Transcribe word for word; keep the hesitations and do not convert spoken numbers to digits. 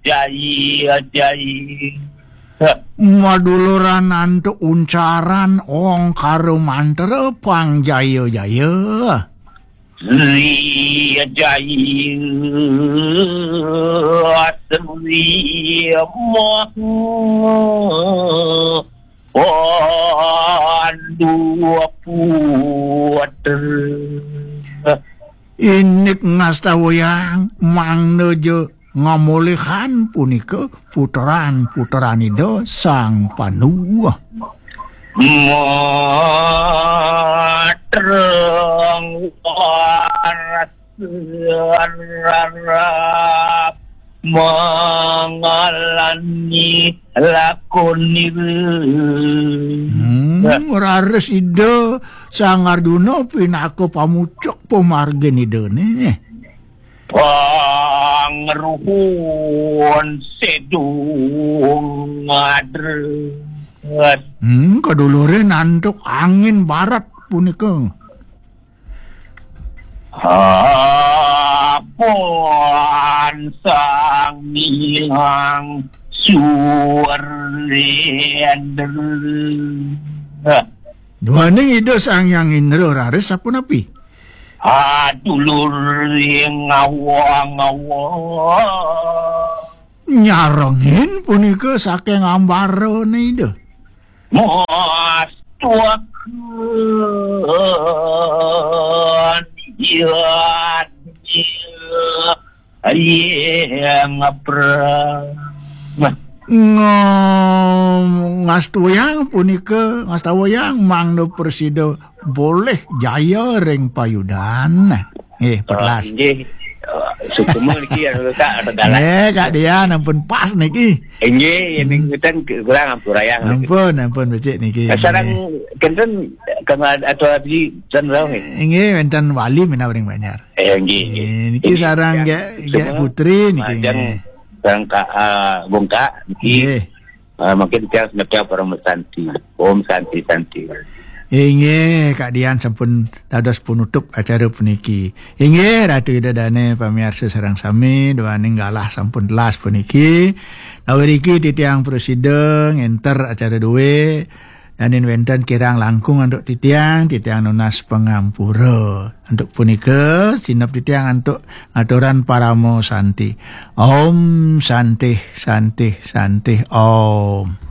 Jaya, jaya. Maduluran antuk uncaran ongkara mantra pang jaya-jaya. Sri jaya, Sri Maha Pandu Putra. Indik ngastawayang mangda ja ngamulihan punika putran-putran Ida Sang Pandu. Matrang waras rarap mangalani lakonira. Hmm, raris Ida Sang Arjuna pinaka pamucuk pamargin Idane. Pangruhun sedung ngadres. Hmm, kadulurin antuk angin barat punika. Apan Sang Hyang Surendra. Duaning Ida Sang Hyang Indra raris sapunapi? Adulur ing ngawa-ngawa. Nyarengin punika saking ambarane Ida. Mastuaken yadnya yang prang. Ngom-, ngastuyang punika, ngastawayang mangda prasida boleh jaya ring payudan. Nggih, petlas. Nggih. Eh, sukma niki anu, Kak, anu dalan. Nggih, Kak Dian, ampun pas niki. Nggih, yen ngeten kurang ampurayang. Ampun, ampun becik niki. Sareng nggih. Kenten kang atau abdi ten rau nggih. Nggih, wenten wali menawi ring Banjar. Eh, nggih, nggih. Nggih, niki nggih, sareng ya, nggih, nggih, sukma. Putri niki, majeng nggih. Sareng Kak, ah, Bungkak niki. Nggih. Ah, mungkin tiang semeton Parama Santi. Om Santi, Santi. Inggih, Kak Dian sampun dados penutup acara puniki. Inggih, Ratu Ida Dane, pamiarsa sareng sami, duaning galah sampun telas puniki. Nawi riki titiang prasida ngenter acara duwe, danin wenten kirang langkung antuk titiang, titiang nunas pangampura. Antuk punika, sineb titiang antuk ngaturan parama santi. Om Santi, Santi, Santi, Om.